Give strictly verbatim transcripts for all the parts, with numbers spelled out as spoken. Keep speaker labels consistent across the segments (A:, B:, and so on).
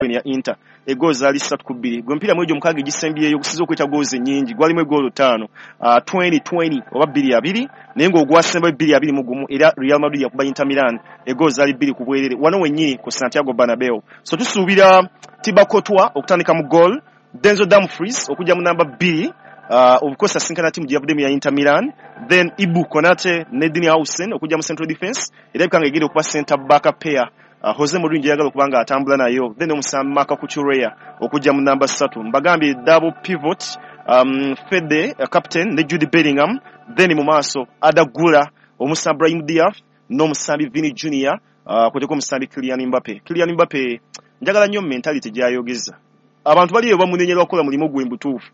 A: Ya Inter egoal zaali ssatu ku bbiri. Gwe emipiira mwegyo mukaaga egisembyeyo gusiza okweta goals ennyingi, gwalimu egoolo ttaano uh, twenty twenty oba bbiri abiri, naye ng'ogwasembayo bbiri abiri mu gumu, era Real Madrid yakuba Inter Milan, egoolo zaali bbiri ku bwerere wano wennyini ku Santiago Bernabeu. So tusuubira Thibaut Courtois okutandika mu goal, Denzel Dumfries okujja mu namba bbiri, uh, of course asinkana timu gye yavuddemu ya Inter Milan, then Ibu Konate ne Dean Huijsen okujja mu central defense, era bikanga egenda okuba center back pair uh, Jose Mourinho gyeyagala okuba nga atambula nayo, then omusambi Marc Cucurella okujja mu namba ssatu. Mbagambye double pivot, um, Fede uh, captain ne Jude Bellingham, then mu maaso Arda Guler, omusambi Brahim Diaz n'omusambi Vini Junior, uh, kweteko omusambi Kylian Mbappe. Kylian Mbappe njagala nnyo mentality gy'ayogeza. Abantu bali eyo bamunenyera okukola mulimu gwe mbutuufu.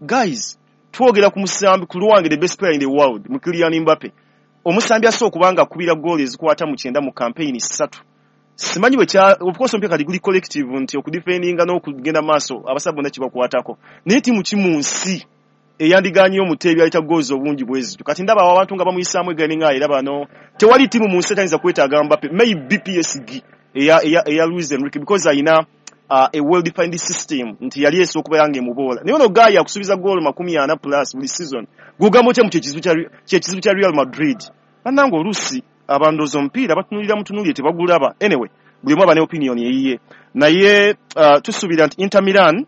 A: Guys, twogera ku musambi, ku lwange the best player in the world mu Kylian Mbappe, omusambi asobola okuba nga akubira goal ezikwata mu kyenda mu campaign ssatu. Simanyi bwe kya, of course omupiira kati guli collective nti okudefendinga n'okugenda maaso abasaba bonna kibakwatako, naye tiimu ki mu nsi eyandiganye omuteebi aleta goals obungi bwe zityo? Kati ndaba awo abantu nga bamuyisaamu egani nga era bano, tewali tiimu mu nsi etayinza kwetaaga Mbappe, maybe P S G eya, eya, eya Luis Enrique, because ayina uh, a well defined system nti yali esobola okubeera ng'emuboola. Naye ono guy akusuubiza goal makumi ana plus buli season, gwogamba otya mu kyekizibu kya kyekizibu kya Real Madrid? Bannange, oluusi abandooza omupiira batunulira mutunuulire tebagulaba. Anyway, buli omu aba ne opinion eyiye, naye uh, tusuubira nti Inter Milan,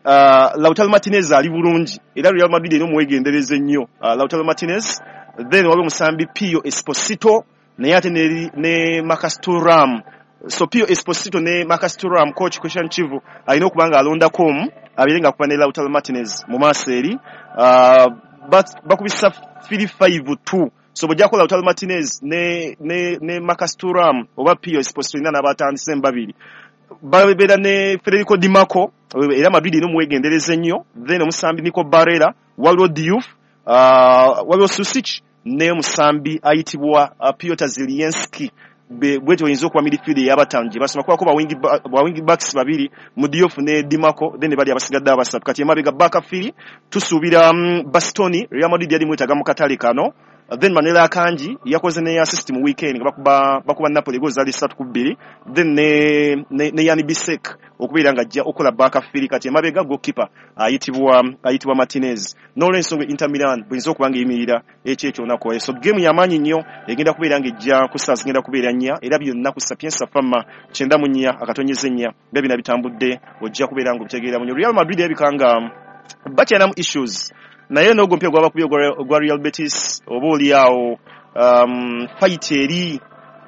A: uh, Lautaro Martinez ali bulungi, era Real Madrid erina omuwegendereza ennyo uh, Lautaro Martinez. Then waliwo omusambi Pio Esposito, naye ate ne, ne Marcus Thuram. So Pio Esposito ne Marcus Thuram, coach Christian Chivu alina okuba nga alondako omu abeere nga akuba ne Lautaro Martinez mu maaso eri. uh, bakubisa three five two, so bw'ojjako Lautaro Martinez ne, ne, ne Marcus Thuram oba Pio Esposito, ina n'abatandise babiri babeera ne Federico Di Marco, era Madrid erina omuwegendereza ennyo. Then omusambi Nico Barella, waliwo Diouf, uh, waliwo Susic ne omusambi ayitibwa uh, Piotr Zielinski. Bwetyo oyinza okuba midfield ey'abataano gye basoma kubako ba wing backs babiri mu Diouf ne Di Marco, then bali abasigadde abasatu. Kati emabega back three tusuubira um, Bastoni, Real Madrid yali mwetaaga mu katale kano. Then Manuel Akanji yakoze ne assist mu weekend nga bakuba bakuba Napoli goal zaali ssatu ku bbiri, then ne ne, ne Yann Bisek okubeera nga ajja okukola back three. Kati emabega goalkeeper ayitibwa ayitibwa Martinez. N'olwensonga Inter Milan buyinza okuba nga eyimirira ekyo ekyo olunaku. So game y'amaanyi nnyo egenda kubeera nga ejja ku ssaawa zigenda kubeera nnya, era byonna ku Sapienza Fama kyenda mu nnya akatonyeza ennya nga bina bitambudde, ojja kubeera nga obitegeera munyo. Real Madrid erabika nga bakyalinamu issues, naye n'ogwo omupiira gwabakubye ogwa Real Betis, oba oli awo um, fight eri,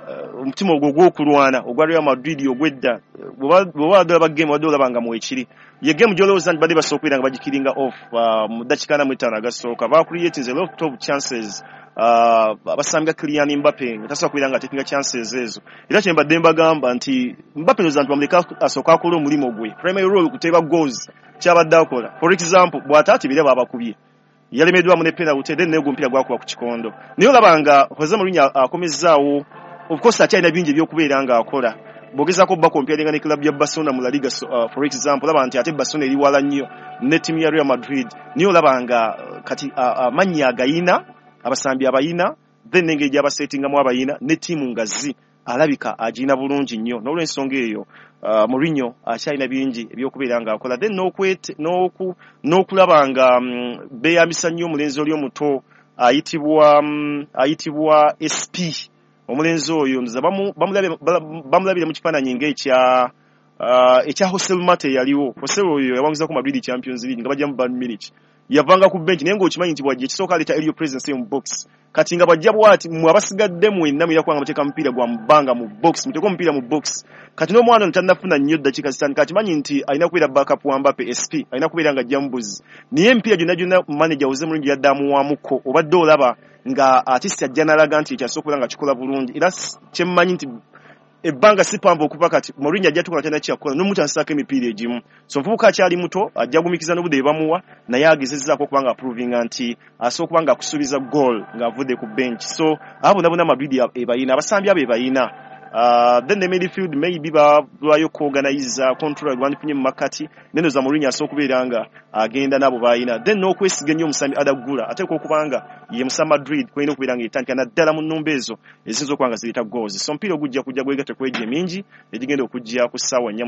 A: uh, omutima ogwo ogw'okulwana ogwa Real Madrid ogwedda, bw'oba wadde olaba game, wadde olaba nga mwekiri ye game gy'olowooza nti badde basobola okubeera nga bagikillinga off uh, mu ddakiika ana mu ttaano agasooka. Bacreatinze a lot of chances, uh, abasambi nga Kylian Mbappe nga tasobola kubeera nga takinga chances ezo. Era kye mbadde mbagamba nti Mbappe ndowooza nti bamuleke asooke akole omulimu gwe, primary role kuteeba goals, kyabadde akola. For example, bw'ataatibira baabakubye, yalemeddwamu ne penalty, then naye omupiira gwakuba ku kikondo. Naye olaba nga Jose Mourinho akomezzaawo, of course akyalina bingi ebyokubeera ng'akola. Bw'ogezaako bacomparinga ne club ya Barcelona mu La Liga, so, uh, for example, olaba nti ate Barcelona eri wala nnyo ne ttiimu ya Real Madrid, naye olaba nga uh, kati amannya uh, agayina, abasambi abayina, then n'engeri gy'abasetingamu abayina ne ttiimu nga zi alabika agirina bulungi nnyo. N'olwensonga eyo uh, Mourinho akyalina bingi ebyokubeera ng'akola, then n'okulaba nga um, beeyambisa nnyo omulenzi oli omuto ayitibwa um, ayitibwa S P. Omulenzi oyo nza bamulabire mu kifaananyi ng'ekya uh, ekya Joselu Mata eyaliwo. Joselu oyo yawanguzako Madrid Champions League nga bajja mu Bayern Munich, yavanga ku bench, naye ng'okimanyi nti bwajja ekisooka aleeta aerial presence mu box. Kati nga bwajja bwati, mwe abasigadde mwenna mulina kubanga muteeka mupiira gwa mubbanga mu box, muteeke omupiira mu box. Kati n'omwana ono tannafuna nnyo ddakiika zitandika, akimanyi nti alina kubeera backup wa Mbappe, S P alina kubeera nga ajja mubuzi, naye emipiira gyonna gyonna manager Jose Mourinho yadde amuwaamuko, obadde olaba nga artist ajja n'alaga nti ekyasobola okubeera nga kikola bulungi. Era kyemmanyi nti ebbanga si pamvu okuva kati Mourinho ajja tukola kyana kyakukola n'omutandisako emipiira egimu. So omuvubuka akyali muto, ajja gumikiza n'obudde bwe bamuwa, naye agezezzaako okuba nga aprovinga nti asobola okuba nga akusuubiza goal ng'avudde ku bench. So abo bonna bonna Madrid ebayina, abasambi abo ebayina. Uh, then the midfield maybe balwayo kuorganiza control gwandifunye mu makati, neno za Mourinho asobola okubeera nga agenda nabo balina, then n'okwesiga ennyo omusambi Arda Güler, ateekwa okuba nga ye musa Madrid kwolina okubeera nga etandika naddala mu nnumba ezo eziyinza okuba nga zireeta goals. So omupiira ogujja kujja gwegatte ku egyo emingi egigenda okujja ku ssaawa nnya.